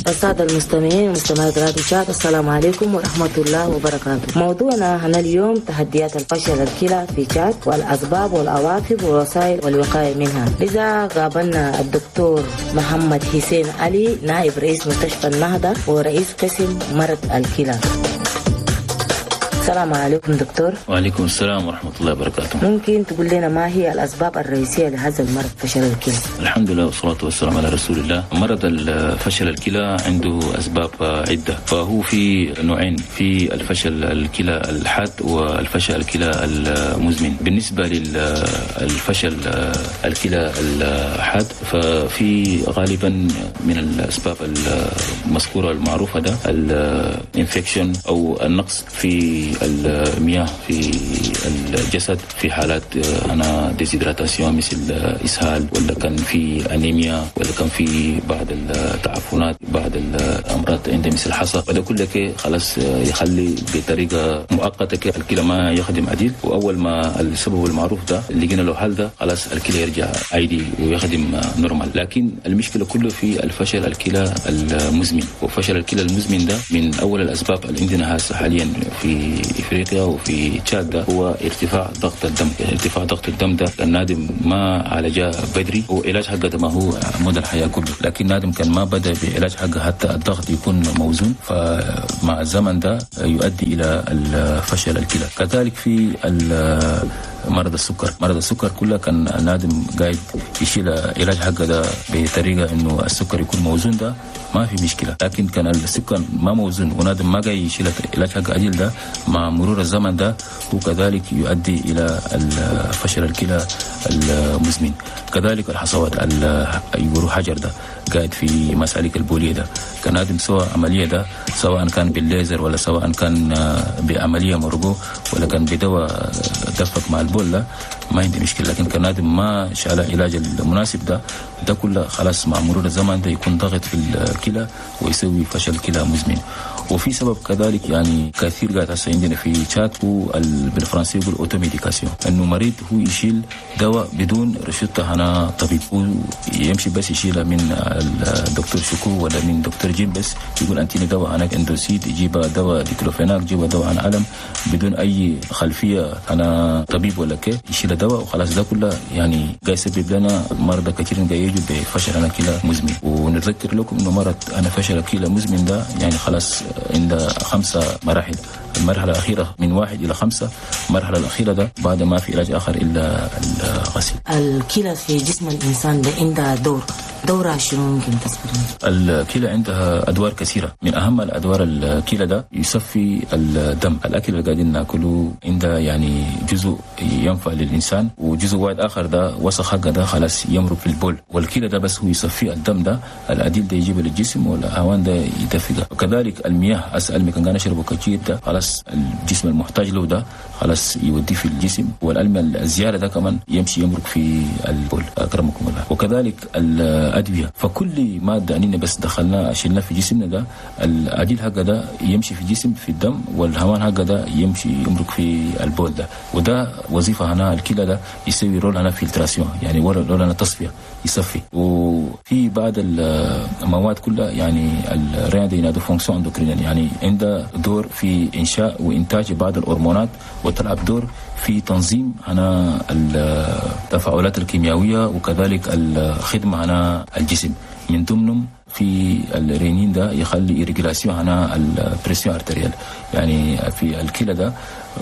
السادة المستمعين ومستمعات راديو تشاد، السلام عليكم ورحمة الله وبركاته. موضوعنا هنا اليوم تحديات الفشل الكلى في تشاد والأسباب والعواقب والوسائل والوقاية منها. لذا قابلنا الدكتور محمد حسين علي، نائب رئيس مستشفى النهضة ورئيس قسم مرض الكلى. السلام عليكم دكتور. وعليكم السلام ورحمة الله وبركاته. ممكن تقول لنا ما هي الأسباب الرئيسية لهذا المرض فشل الكلى؟ الحمد لله والصلاة والسلام على رسول الله. مرض الفشل الكلى عنده أسباب عدة، فهو في نوعين، في الفشل الكلى الحاد والفشل الكلى المزمن. بالنسبة للفشل الكلى الحاد ففي غالبا من الأسباب المذكورة المعروفة ده ال infection أو النقص في المياه في الجسد في حالات أنا déshydratation مثل إسهال، ولا كان في أنيميا، ولا كان في بعض التعفنات، بعض الأمراض عند مثل الحصى، وده كله خلاص يخلي بطريقة مؤقتة الكلى ما يخدم عديل. وأول ما السبب المعروف ده اللي لقينا له حل ده خلاص الكلى يرجع عادي ويخدم normal. لكن المشكلة كله في الفشل الكلى المزمن، وفشل الكلى المزمن ده من أول الأسباب اللي عندنا حاليا في افريقيا وفي تشاد ده هو ارتفاع ضغط الدم. ارتفاع ضغط الدم ده النادم ما عالجه بدري، وعلاج حقه ما هو مدى الحياة كله، لكن نادم كان ما بدا بعلاج حقه حتى الضغط يكون موزون، فمع الزمن ده يؤدي الى الفشل الكلى. كذلك في مرض السكر، مرض السكر كله كان النادم قاعد يشيل علاج حقه ده بطريقة انه السكر يكون موزون، ده ما في مشكلة. لكن كان السكر ما موزون ونادم ما قاعد يشيل علاج حقه عديل ده مع مرور الزمن ده وكذلك يؤدي الى الفشل الكلى المزمن. كذلك الحصوات يقولوا حجر ده قاعد في مسالك البوليه ده، كان نادم سواء عملية ده سواء كان بالليزر ولا سواء كان بعملية مرجو ولا كان بدواء دفق مع البول ده ما عندي مشكلة. لكن كان نادم ما شال العلاج المناسب ده ده كله خلاص مع مرور الزمن ده يكون ضغط في الكلى ويسوي فشل كلى مزمن. وفي سبب كذلك يعني كثير قاعد هسه عندنا في تشاد هو بالفرنسي يقول automédication، انه مريض هو يشيل دواء بدون رشدة هنا طبيب، هو يمشي بس يشيلها من الدكتور شكو ولا من دكتور جيم، بس يقول انتيني دواء هناك اندوسيد، يجيب دواء ديكلوفيناك، يجيب دواء عن ألم بدون اي خلفية انا طبيب ولا كي، يشيل دواء وخلاص. ده كله يعني قاعد يسبب لنا مرضى كثير قاعد يجوا بفشل انا كلى مزمن. ونتذكر لكم انه مرض انا فشل كلى مزمن ده يعني خلاص عند 5 مراحل، المرحلة الأخيرة من 1 إلى 5، المرحلة الأخيرة ده بعد ما في علاج آخر إلا الغسيل. الكلى في جسم الإنسان ده عندها دورها شنو ممكن تذكرني؟ الكلى عندها أدوار كثيرة، من أهم الأدوار الكلى ده يصفي الدم. الأكل اللي قاعدين ناكله عنده يعني جزء ينفع للإنسان، وجزء واحد آخر ده وسخ حقه ده خلاص يمرق في البول، والكلى ده بس هو يصفي الدم ده، الأديل ده يجيبه للجسم والهوان ده يدفقه. وكذلك المياه أسأل ما كان نشربه كثير ده خلاص الجسم المحتاج له ده خلاص يوديه في الجسم، والألم الزيادة ده كمان يمشي يمرق في البول أكرمكم الله. وكذلك الأدوية، فكل مادة أننا بس دخلنا شلنا في جسمنا ده الأديل حقه ده يمشي في الجسم في الدم، والهوان حقه ده يمشي يمرق في البول ده. وده وظيفة هنا الكلى ده يسوي rôle هنا filtration، يعني rôle هنا تصفية يصفي. وفي بعض المواد كلها يعني ال rein دي ينادوا fonction endocrinienne، يعني عندها دور في إنشاء وإنتاج بعض الهرمونات، وتلعب دور في تنظيم هنا التفاعلات الكيميائية وكذلك الخدمة هنا الجسم. من ضمنهم في الرينين ده يخلي régulation هنا ال pression artérielle، يعني في الكلى ده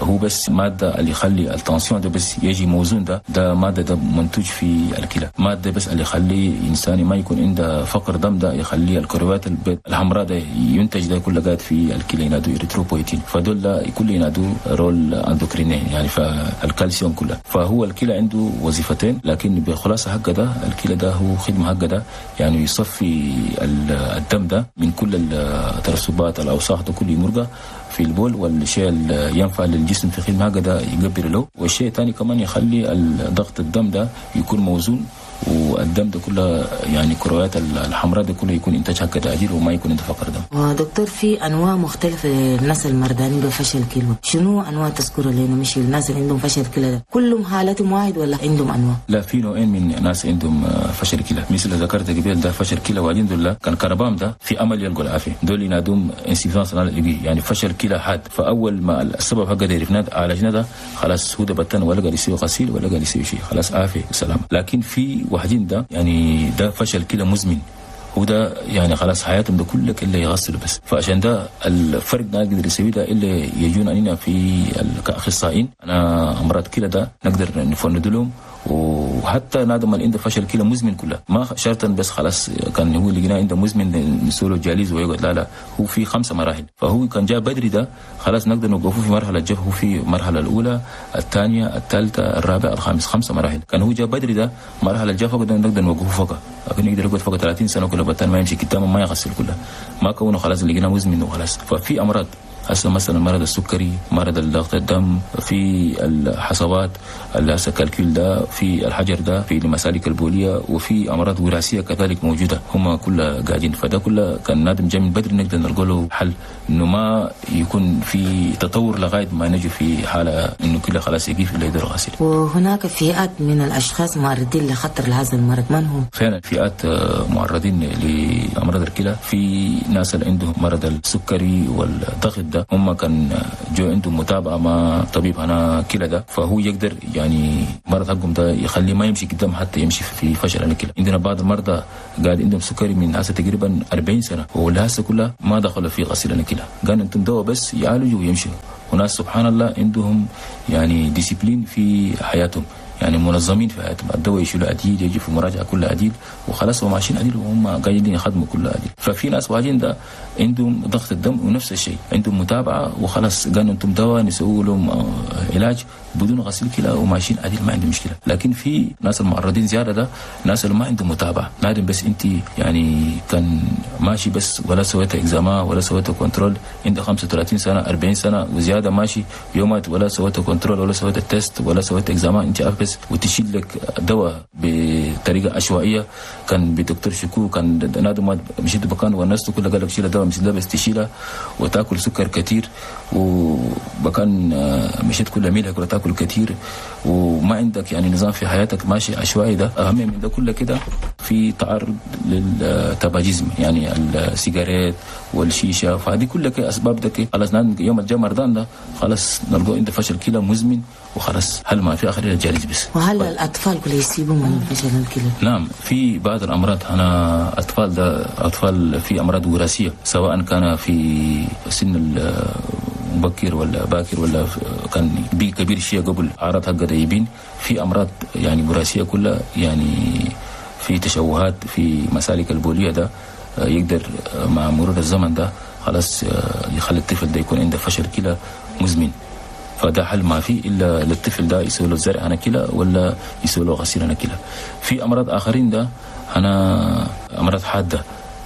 هو بس مادة اللي يخلي ال tension ده بس يجي موزون، ده مادة ده منتج في الكلى، مادة بس اللي يخلي إنسان ما يكون عنده فقر دم ده يخلي الكروات البيض الحمراء ده ينتج ده كله قاعد في الكلى ينادوا إريثروبويتين، فدول ده كل ينادوا rôle endocrinien يعني فالكالسيوم كله. فهو الكلى عنده وظيفتين، لكن بخلاصة حقه ده الكلى ده هو خدمة حقه ده يعني يصفي الدم ده من كل الترسبات الأوساخ ده كله يمرقه في البول، والشيء اللي ينفع للجسم في خدمة هكذا يقبل له. والشيء الثاني كمان يخلي ضغط الدم ده يكون موزون والدم ده كله يعني كرويات الحمراء ده كله يكون انتاج حق عديل وما يكون عنده فقر دم. ودكتور في انواع مختلفة للناس المرضانين بفشل كلى، شنو انواع تذكرها لنا؟ مش الناس اللي عندهم فشل كلى ده كلهم حالتهم واحد ولا عندهم انواع؟ لا، في نوعين من الناس عندهم فشل كلى، مثل ذكرت قبل ده فشل كلى وبعدين دول كان كربام ده في امل يلقوا العافية، دول ينادوهم insuffisance rénale aiguë يعني فشل كلى حاد. فاول ما السبب حق ده عرفناه عالجناه ده خلاص هو ده بتن ولا قاعد يسوي غسيل ولا قاعد يسوي شيء، خلاص عافية وسلام. لكن في واحدين ده يعني ده فشل كلى مزمن، هو ده يعني خلاص حياتهم ده كله الا يغسلوا بس. فعشان ده الفرق ده نقدر نسوي ده الا يجون علينا في كاخصائيين انا امراض كلى ده نقدر نفند لهم. وحتى نادم اللي عنده فشل كلى مزمن كله ما شرطا بس خلاص كان هو اللي عنده مزمن نسوي له dialyse ويقعد، لا لا، هو في 5 مراحل. فهو كان جاء بدري ده خلاص نقدر نوقفه في مرحلة جف، هو في المرحلة الاولى الثانية الثالثة الرابعة الخامس، 5 مراحل. كان هو جاء بدري ده مرحلة الجفا نقدر نوقفه فوق، لكن يقدر يقعد فوق 30 سنة كله بتان ما يمشي قدامه ما يغسل كله، ما كونه خلاص اللي مزمن وخلاص. ففي امراض هسه مثلا مرض السكري، مرض الضغط الدم، في الحصوات اللي هسه calcul ده، في الحجر ده، في المسالك البوليه، وفي امراض وراثية كذلك موجودة، هم كلها قاعدين. فده كله كان نادم جاي من بدري نقدر نلقى له حل، انه ما يكون في تطور لغاية ما نجي في حاله انه كله خلاص يقف اللي يدير غسيل. وهناك فئات من الاشخاص معرضين لخطر هذا المرض، من هم؟ فعلا فئات معرضين لامراض الكلى، في ناس اللي عندهم مرض السكري والضغط ده هم كان جو عندهم متابعه مع طبيب انا كلى ده، فهو يقدر يعني مرض حقهم ده يخليه ما يمشي قدام حتى يمشي في فشل الكلى. عندنا بعض المرضى قاعد عندهم سكري من هسه تقريبا 40 سنة ولهسه كلها ما دخلوا في غسيل الكلى، قال انتم دواء بس يعالجوا ويمشوا. وناس سبحان الله عندهم يعني discipline في حياتهم، يعني منظمين في حياتهم، الدواء يشيلوا عديل، يجي في مراجعه كلها عديل وخلاص هم ماشيين عديل وهم قاعدين يخدموا كلها عديل. ففي ناس واجين ده عندهم ضغط الدم ونفس الشيء عندهم متابعه وخلاص قالوا انتم دواء نسوي لهم علاج بدون غسيل كلى وماشيين عديل ما عندهم مشكلة. لكن في ناس المعرضين زيادة ده ناس اللي ما عندهم متابعه، نادم بس انت يعني كان ماشي بس ولا سويت examen ولا سويت contrôle، انت 35 سنة 40 سنة وزيادة ماشي يومات ولا سويت contrôle ولا سويت test ولا سويت examen، انت عارف بس وتشيل لك دواء بطريقة عشوائية. كان بدكتور شكو كان نادم مشيت بكان والناس كلها قال لك شيل دواء مش ده بس تشيلها وتاكل سكر كثير، وبكان مشيت كل ميلها كلها تاكل كثير وما عندك يعني نظام في حياتك ماشي عشوائي. ده اهم من ده كله كده في تعرض لل tabagisme يعني السيجارات والشيشه، فهذه كلها اسباب ده خلاص يوم الجاي مرضان ده خلاص نلقوا عنده فشل كلى مزمن وخلاص هل ما في اخر ال dialyse بس. وهل الاطفال كل يصيبوا من فشل الكلى؟ نعم، في بعض الامراض انا اطفال ده اطفال في امراض وراثية سواء كان في سن مبكر ولا باكر ولا كان بي كبير شيء قبل اعراض حق يبين، في امراض يعني وراثية كلها يعني في تشوهات في مسالك البوليه ده يقدر مع مرور الزمن ده خلاص يخلي الطفل ده يكون عنده فشل كلى مزمن. فده حل ما فيه الا للطفل ده يسوي له زرع انا كلى ولا يسوي له غسيل انا كلى. في امراض اخرين ده انا امراض حادة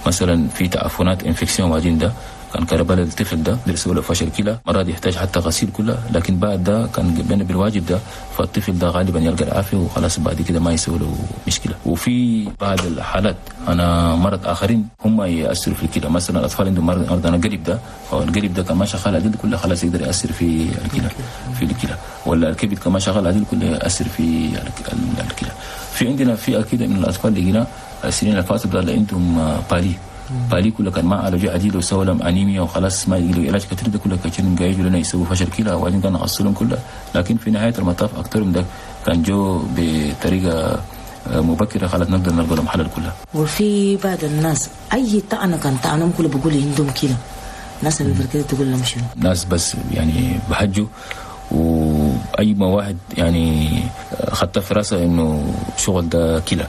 مثلا في تعفنات infection واجين ده كان كربلاء الطفل ده يسوي له فشل كلى، مرات يحتاج حتى غسيل كله، لكن بعد ده كان بينا بالواجب ده فالطفل ده غالبا يلقى العافية وخلاص بعد كده ما يسوي له مشكلة. وفي بعض الحالات انا مرض اخرين هم ياثروا في الكلى، مثلا الاطفال عندهم مرض انا قلب ده، فالقلب ده كان ما شغال عدل كله خلاص يقدر ياثر في الكلى في الكلى، ولا الكبد كما شغال عدل كله ياثر في الكلى. في عندنا فئة كده من الاطفال اللي هنا السنين اللي فاتت اللي عندهم palu كله كان ما عالجوا عديل وسووا لهم انيميا وخلاص ما يجي علاج كثير ده كله كثير جاي لنا يسووا فشل كلى وبعدين كان غسلهم كله، لكن في نهاية المطاف اكثرهم ده كان جو بطريقة مبكرة خلاص نقدر نلقى لهم حل كلها. وفي بعض الناس اي طعنه كان طعنهم كله بيقول عندهم كلى، ناس اللي كده تقول لهم شنو؟ ناس بس يعني بحجوا واي ما واحد يعني خدت في راسه انه شغل ده كلى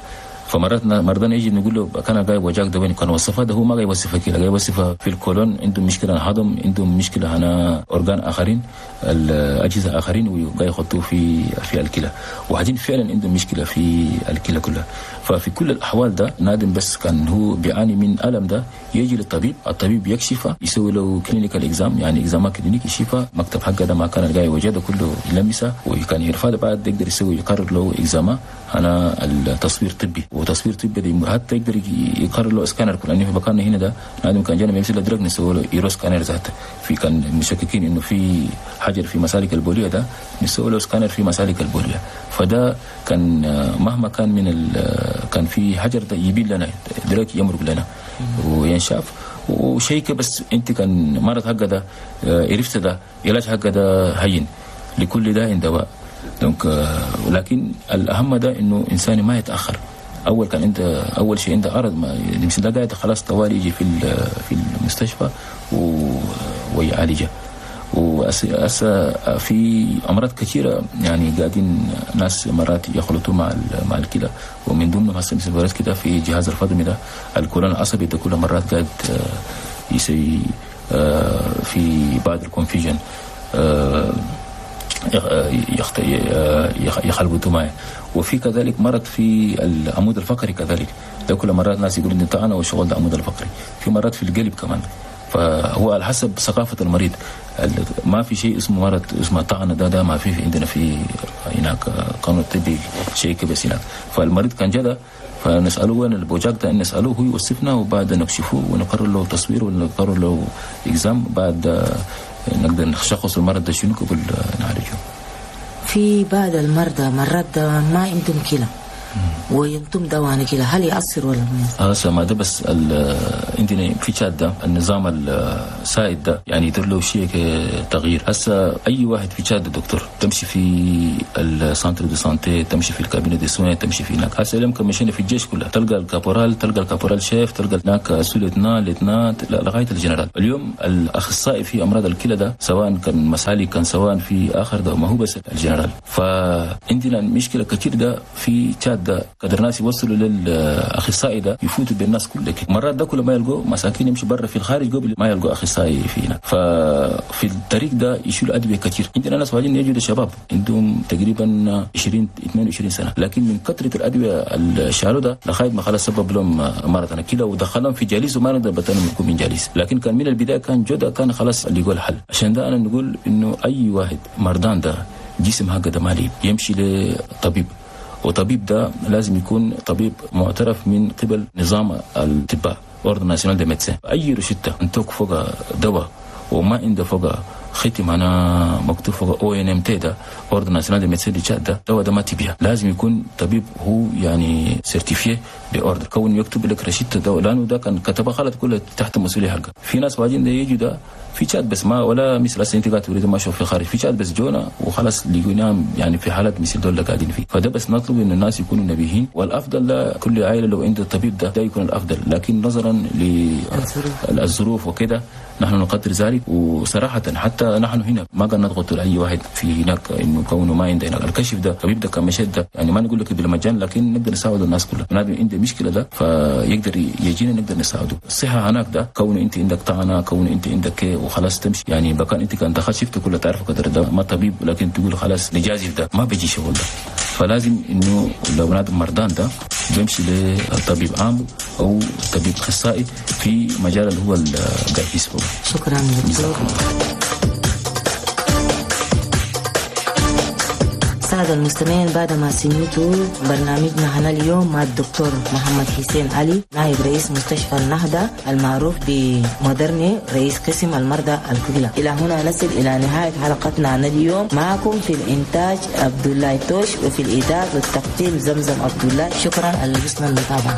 فمرات مرضانا يجي نقول له كان جاي وجاك ده وين كان وصفها ده، هو ما جاي يوصفها كده، جاي يوصفها في الكولون، عندهم مشكلة هضم، عندهم مشكلة هنا organes اخرين، الاجهزة اخرين، وجاي يحطوه في الكلى، وبعدين فعلا عندهم مشكلة في الكلى كلها. ففي كل الاحوال ده نادم بس كان هو بيعاني من الم ده يجي للطبيب، الطبيب يكشفه، يسوي له clinical exam، يعني examen clinique، يشوفه مكتب حقه ده ما كان جاي وجده كله يلمسه وكان يرفع، بعد يقدر يسوي يقرر له examen انا التصوير طبي، وتصوير طبي دي حتى يقدر يقرر له سكانر، لانه في مكاننا هنا ده نادم كان جانا بيمسك درج نسوي له uroscanner ذاته، في كان مشككين انه في حجر في مسالك البوليه ده نسوي له سكانر في مسالك البوليه. فده كان مهما كان من كان في حجر ده يبين لنا درج يمرق لنا وينشاف وشيء. بس انت كان مرض حق ده عرفت ده علاج حق ده هين، لكل داء دواء. donc ولكن الاهم ده انه انسان ما يتاخر. اول كان انت اول شيء عنده عرض ما يمشي ده قاعد خلاص طوالي يجي في المستشفى ويعالجه. وأسا في امراض كثيرة يعني قاعدين ناس مرات يخلطوا مع الكلى، ومن ضمنهم هسه مثل كده في جهاز الفضمي ده الكولون العصبي ده كل مرات قاعد يسوي في بعض ال confusion يخلطوا معي. وفي كذلك مرض في العمود الفقري كذلك ده كل مرات ناس يقولوا انت انا والشغل ده عمود الفقري، في مرات في القلب كمان. فهو على حسب ثقافة المريض، ما في شيء اسمه مرض اسمه طعنة، ده ما في عندنا في هناك قانون الطبي شيء بس هناك. فالمريض كان جدا فنسأله وين البوجاك ده، نسأله هو يوصفنا وبعد نكشفه ونقرر له تصوير ونقرر له examen، بعد نقدر نشخص المرض ده شنو قبل نعالجه. في بعض المرضى مرات ما عندهم كلى وينتم دواء كده، هل يأثر ولا ما يأثر؟ ما ده بس عندنا في تشاد ده النظام السائد ده يعني يدير له شيء تغيير. هسه اي واحد في تشاد دكتور تمشي في ال centre de santé، تمشي في ال cabinet de soins، تمشي في هناك. هسه لما مشينا في الجيش كله تلقى ال caporal، تلقى ال caporal-chef، تلقى هناك sous-lieutenant، lieutenant، لغاية الجنرال. اليوم الاخصائي في امراض الكلى ده سواء كان مسالي كان سواء في اخر ده ما هو بس الجنرال. فعندنا مشكلة كثير ده في تشاد ده قدر ناس يوصلوا للاخصائي ده يفوتوا بالناس كلها. مرات ده كل ما يلقوا مساكين يمشوا برا في الخارج قبل ما يلقوا اخصائي فينا. ففي الطريق ده يشيلوا ادوية كثير. عندنا ناس واجين يجوا شباب عندهم تقريبا 20 22 سنة، لكن من كثرة الادوية اللي شالوا ده لغاية ما خلاص سبب لهم مرض انا كده ودخلهم في dialyse وما نقدر بتنم يكون من dialyse. لكن كان من البداية كان جوده كان خلاص اللي يقول حل. عشان ده انا نقول انه اي واحد مرضان ده جسم هكذا مالي يمشي لطبيب، وطبيب ده لازم يكون طبيب معترف من قبل نظام الأطباء Ordre national des médecins. اي روشته انتوك فوق دواء وما عنده فوق ختم انا مكتوب فوق ONMT ده Ordre national des médecins du Tchad ده دواء ده ما تبيع. لازم يكون طبيب هو يعني certifié ب ordre كون يكتب لك روشته دواء، لانه ده كان كتبه غلط كله تحت مسؤولية حقه. في ناس واجين ده يجوا ده في تشاد بس ما ولا مثل هسه انت قاعد تريد ما اشوف في خارج في تشاد بس جونا وخلاص لقيناهم يعني في حالات مثل دول قاعدين فيه. فده بس نطلب ان الناس يكونوا نبيهين، والافضل لكل عائلة لو عند الطبيب ده يكون الافضل، لكن نظرا للظروف وكده نحن نقدر ذلك. وصراحة حتى نحن هنا ما قد نضغط على اي واحد في هناك انه كونه ما عنده هناك الكشف ده الطبيب ده كمشهد ده يعني ما نقول لك بالمجان، لكن نقدر نساعد الناس كلها. بنادم عنده مشكلة ده فيقدر يجينا نقدر نساعده. الصحة هناك ده كونه انت عندك طعنه، كونه انت عندك وخلاص تمشي يعني بكان انت كان دخلت شفت كله تعرف قدر ده ما طبيب، لكن تقول خلاص نجازف ده ما بيجي شغل ده. فلازم انه لو بنادم مرضان ده بيمشي لطبيب عام او طبيب اخصائي في مجال اللي هو قاعد يسبقه. شكرا دكتور. السادة المستمعين، بعدما سمعتوا برنامجنا هنا اليوم مع الدكتور محمد حسين علي نائب رئيس مستشفى النهضة المعروف بمودرني رئيس قسم المرضى الكلى. إلى هنا نصل إلى نهاية حلقتنا عن اليوم. معكم في الإنتاج عبد الله توش، وفي الإعداد والتقديم زمزم عبد الله. شكرا على حسن المتابعة.